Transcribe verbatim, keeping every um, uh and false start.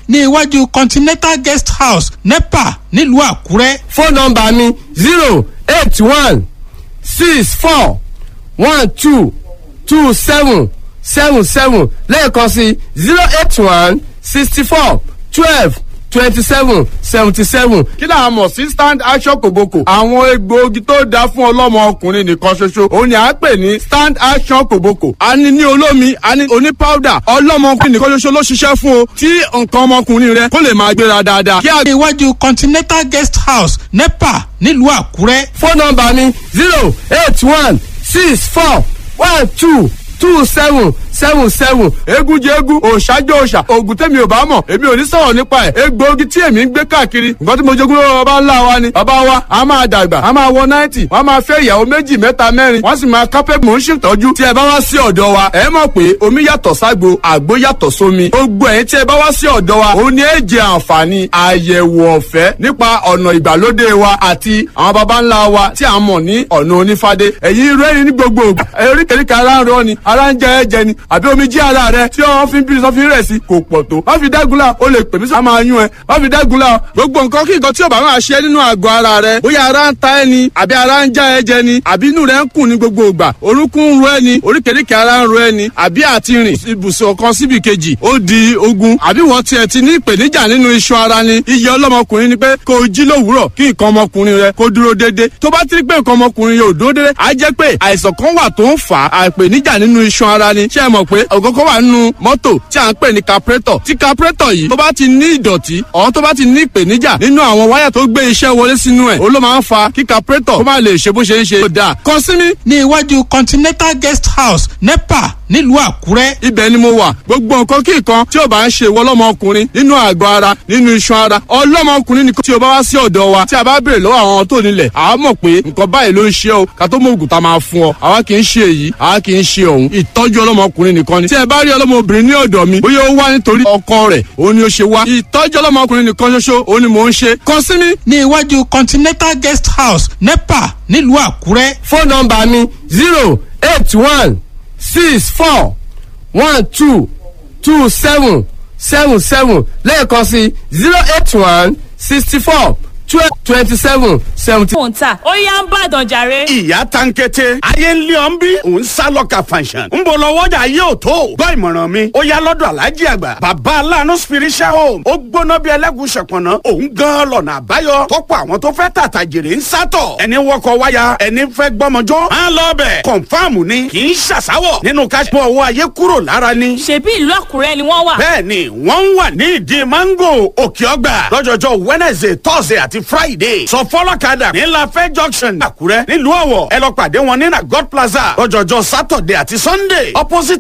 Ní iwájú Continental Guest House, NEPA, nílùú Àkúrẹ́. Fóònù nọ́mbà mi zero eight one six four one two two seven seven seven, lẹ́ẹ̀kan sí zero eight one sixty four twelve twenty seven seventy seven. Kí là á mọ̀ sí Stand Action Kòbókò? Àwọn egbòogi tó dáa fún ọlọ́mọ ọkùnrin nìkan ṣoṣo òun ni à ń pè ní Stand Action Kòbókò. A ní ní olómi, a ní oní powder. Ọlọ́mọ ọkùnrin nìkan ṣoṣo ló ṣiṣẹ́ fún o, tí nǹkan ọmọkùnrin rẹ kó lè máa gbéra dáadáa. Kí a Ní iwájú Continental Guest House, NEPA, nílùú Àkúrẹ́. Fóònù nọ́mbà mi zero eight one six four one two two seven seven seven. Eégún jẹ eégún, òòṣà jẹ òòṣà. Oògùn tèmi ò bá mọ̀, èmi ò ní sọ̀rọ̀ nípa ẹ̀. Egbòogi tí èmi ń gbé káàkiri, nǹkan tí mo jogún lọ́wọ́ bàbá ńlá wa ni. Bàbá wa a máa dàgbà, a máa wọ ninety, wọ́n máa fẹ́ ìyàwó méjì, mẹ́ta, mẹ́rin, wọ́n sì máa kápẹ́. Mò ń ṣètọ́jú. Tí ẹ bá wá sí ọ̀dọ̀ wa, ẹ mọ̀ pé omi yàtọ̀ ságbo, àgbo yàtọ̀ sómi. Gbogbo ẹ̀yin tí ẹ bá wá sí ọ̀dọ̀ wa, òun ni ẹ jẹ àǹfààní àyẹ̀wò ọ̀fẹ́ nípa ọ̀nà ìgbàlódé wa àti àwọn baba ńlá wa tí a mọ̀ ní ọ̀nà onífádé. Ẹ̀yin rẹ́rìn ní gbogbo ògbà, oríkèéríkèé ara ń rọ ni, ara ń jẹ ẹ̀jẹ̀ ni, àbí omi jí ara rẹ tí wọ́n fi ń bí sọ́fin rẹ̀ sí kò pọ̀ tó. Má fi dágunlá, o lè pè mí sí. A máa yún ẹ, má fi dágunlá. Gbogbo nǹkan kí nǹkan tí ò bá máa ṣe nínú àgọ́ ara rẹ, bóyá ara ń ta ẹ ni, àbí ara ń já ẹ jẹ ni, àbí inú rẹ ń kùn ní gbogbo ìgbà, orúnkún ń ro ẹ ni, oríkèéríkèé ara ń ro ẹ ni, àbí àti rìn ibùsùn kan síbi kejì ó di ogun, àbí wọ́n tiẹ̀ ti ní ìpèníjà nínú iṣan ara ni. Iye ọlọ́mọkùnrin ni pé kó o jí lówùúrọ̀, kí nǹkan ọmọkùnrin rẹ kó dúró déédé. Tó bá ti rí pé nǹkan ọmọkùnrin yóò dúró déédé, á jẹ́ pé àìsàn kan wà tó ń fà á, àìpèníjà nínú iṣan ara ni. Ṣé ẹ mọ̀ pé ògógó wà nínú mọ́tò tí à ń pè ní carburetor? Tí carburetor yìí tó bá ti ní ìdọ̀tí ọ̀hún, tó bá ti ní ìpèníjà nínú àwọn wáyà tó gbé iṣẹ́ wọlé sínú ẹ̀, òun ló máa ń fa kí carburetor kó má lè ṣe bó ṣe ń ṣe. Ó dáa, kàn sí mi. Ní iwájú Continental Guest House, NEPA, nílùú Àkúrẹ́. Ibẹ̀ ni mo wà. Gbogbo nǹkan kí nǹkan tí ò bá ń ṣe ìwọ ọlọ́mọkùnrin nínú àgọ́ ara, nínú iṣan ara ọlọ́mọkùnrin nìkan, tí o bá wá sí ọ̀dọ̀ wa, tí a bá béèrè lọ́wọ́ àwọn tó nílẹ̀, àá mọ̀ pé nǹkan báyìí ló ń ṣe o, ká tó mọ ògùn tá a máa fún ọ. Àwa kì í ṣe èyí, àwa kì í ṣe òun. Ìtọ́jú ọlọ́mọkùnrin nìkan ni. Tí ẹ bá rí ọlọ́mọbìnrin ní ọ̀dọ̀ mi, bóyá ó wá nítorí ọkọ rẹ̀ òun ni ó ṣe wá, ìtọ́jú ọlọ́mọkùnrin nìkan ṣoṣo òun ni mò ń ṣe. Kàn sí mi. Ní iwájú Continental Guest House, NEPA, nílùú Àkúrẹ́. Fóònù nọ́mbà mi zero eight one six four one two two seven seven seven, lẹ́ẹ̀kan sí zero eight one sixty four twelve twenty seven seventy. Mò ń tà ó yá ń bàdàn jàre. Ìyá tankete, ayé ń lé ọ ń bí òun sá lọ́ka fanṣan ń bọ̀ lọ́wọ́jà yóò tó gbọ́ ìmọ̀ràn mi. Ó yá lọ́dọ̀ Aláàjì Àgbà, Bàbá Aláàánú Spiritual Home. Ó gbóná bí ẹlẹ́gùn ṣọ̀pọ̀nà. Òun gan lọ́nà àbáyọ tọ́pọ̀ àwọn tó fẹ́ tàtà jèrè ń sátọ̀. Ẹni wọkọ̀ wáyà, ẹni fẹ́ gbọ́mọjọ́ á lọ bẹ̀. Confirm ni, kì í ṣàṣàwọ̀ nínú káṣípọ̀ owó ayé kúrò lára ni. Ṣebí ìlú Àkúrẹ́ ni wọ́n wà. Bẹ́ẹ̀ni, wọ́n ń wà ní ìdí mango, Òkè Ọgbà, lọ́jọ́jọ́ Wednesday, Thursday àti Friday. Sọ fọlọ́kadà ní Lafẹ́ Junction, Àkúrẹ́. Nílùú Ọ̀wọ̀, ẹ lọ pàdé wọn ní na God Plaza lọ́jọ́jọ́ Saturday àti Sunday, opposite.